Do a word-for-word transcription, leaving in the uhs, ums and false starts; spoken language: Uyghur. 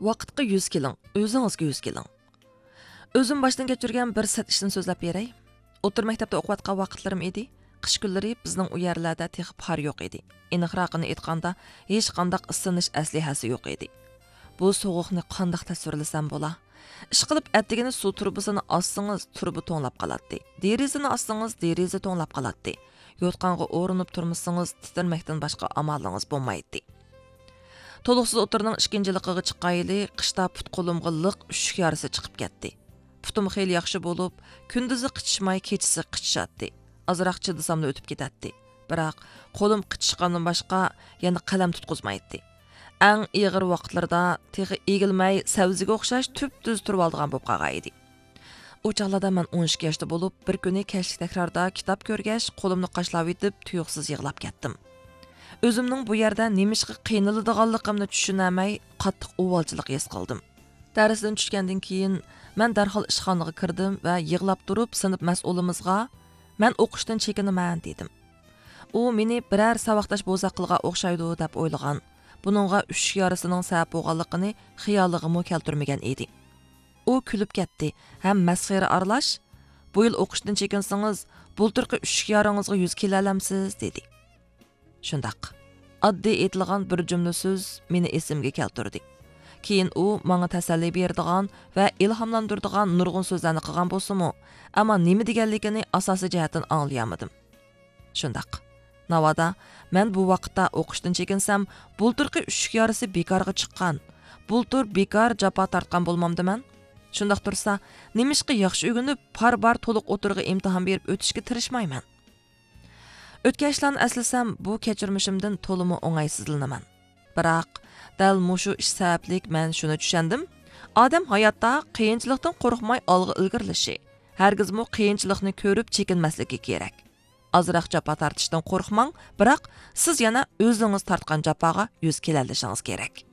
ۋاقىتقا يۈز كېلىڭ، ئۆزىڭىزگە يۈز كېلىڭ. ئۆزۈم باشتىن كەچۈرگەن بىر سەت ئىشنى سۆزلەپ بېرەي. ئوتتۇرا مەكتەپتە ئوقۇۋاتقان ۋاقىتلىرىم ئىدى. قىش كۈنلىرى بىزنىڭ ئۇ يەرلەردە تېخى پار يوق ئىدى. ئېنىقراقىنى ئېيتقاندا، ھېچقانداق ئىسسىنىش ئەسلىھەسى يوق ئىدى. بۇ سوغۇقنى قانداق تەسۋىرلىسەم بولا؟ ئىشقىلىپ، ئەتىگىنى سۇ تۇرۇبىسىنى ئاچسىڭىز، تۇرۇبا توڭلاپ قالاتتى. دېرىزىنى ئاچسىڭىز، دېرىزە توڭلاپ قالاتتى. يوتقانغا ئورىنىپ تۇرمىسىڭىز، تىترىمەكتىن باشقا ئامالىڭىز بولمايتتى. تولۇقسىز ئوتتۇرىنىڭ ئىككىنچى يىللىقىغا چىققانيىلى قىشتا پۇت-قولۇمغا لىق ئۈششۈك يارىسى چىقىپ كەتتى. پۇتۇم خېلى ياخشى بولۇپ، كۈندۈزى قىچىشماي، كېچىسى قىچىشاتتى. ئازراق چىدىساملا ئۆتۈپ كېتەتتى. بىراق، قولۇم قىچىشقاندىن باشقا يەنە قەلەم تۇتقۇزمايتتى. ئەڭ ئېغىر ۋاقىتلىرىدا تېخى ئېگىلمەي، سەۋزىگە ئوخشاش تۈپتۈز تۇرۇۋالىدىغان بولۇپ قالغان ئىدى. ئۇ چاغلاردا مەن ئون ئىككى ياشتا بولۇپ، بىر كۈنى كەچلىك تەكراردا كىتاب كۆرگەچ، قولۇمنى قاشلاۋېتىپ، تۇيۇقسىز يىغلاپ كەتتىم. ئۆزۈمنىڭ بۇ يەردە نېمىشقا قىينىلىدىغانلىقىمنى چۈشىنەلمەي، قاتتىق ئۇۋالچىلىق ھېس قىلدىم. دەرستىن چۈشكەندىن كېيىن، مەن دەرھال ئىشخانىغا كىردىم ۋە يىغلاپ تۇرۇپ، سىنىپ مەسئۇلىمىزغا، «مەن ئوقۇشتىن چېكىنىمەن» دېدىم. ئۇ مېنى بىرەر ساۋاقداش بوزەك قىلغان ئوخشايدۇ دەپ ئويلىغان. بۇنىڭغا ئۈششۈك يارىسىنىڭ سەۋەب بولغانلىقىنى خىيالىغىمۇ كەلتۈرمىگەن ئىدى. ئۇ كۈلۈپ كەتتى ھەم مەسخىرە ئارىلاش، «بۇ يىل ئوقۇشتىن چېكىنسىڭىز، بۇلتۇرقى ئۈششۈك يارىڭىزغا يۈز كېلەلەمسىز؟» دېدى. شۇنداق. ئاددىي ئېيتىلغان بىر جۈملە سۆز مېنى ئېسىمگە كەلتۈردى. كېيىن ئۇ ماڭا تەسەللى بېرىدىغان ۋە ئىلھاملاندۇرىدىغان نۇرغۇن سۆزلەرنى قىلغان بولسىمۇ، ئەمما نېمە دېگەنلىكىنى ئاساسىي جەھەتتىن ئاڭلىيالمىدىم. شۇنداق. ناۋادا، مەن بۇ ۋاقىتتا ئوقۇشتىن چېكىنسەم، بۇلتۇرقى ئۈششۈك يارىسى بىكارغا چىققان، بۇلتۇر بىكار جاپا تارتقان بولمامدىمەن؟ شۇنداق تۇرسا، نېمىشقا ياخشى ئۆگىنىپ، پار بار تولۇق ئوتتۇرىغا ئىمتىھان بېرىپ ئۆتۈشكە تىرىشمايمەن؟ ئۆتكەن ئىشلارنى ئەسلىسەم، بۇ كەچۈرمىشىمدىن تولىمۇ ئوڭايسىزلىنىمەن. بىراق، دەل مۇشۇ ئىش سەۋەبلىك مەن شۇنى چۈشەندىم، ئادەم ھاياتتا قىيىنچىلىقتىن قورقماي ئالغا ئىلگىرىلىشى، ھەرگىزمۇ قىيىنچىلىقنى كۆرۈپ چېكىنمەسلىكى كېرەك. ئازراق جاپا تارتىشتىن قورقماڭ، بىراق سىز يەنە ئۆزىڭىز تارتقان جاپاغا يۈز كېلەلىشىڭىز كېرەك.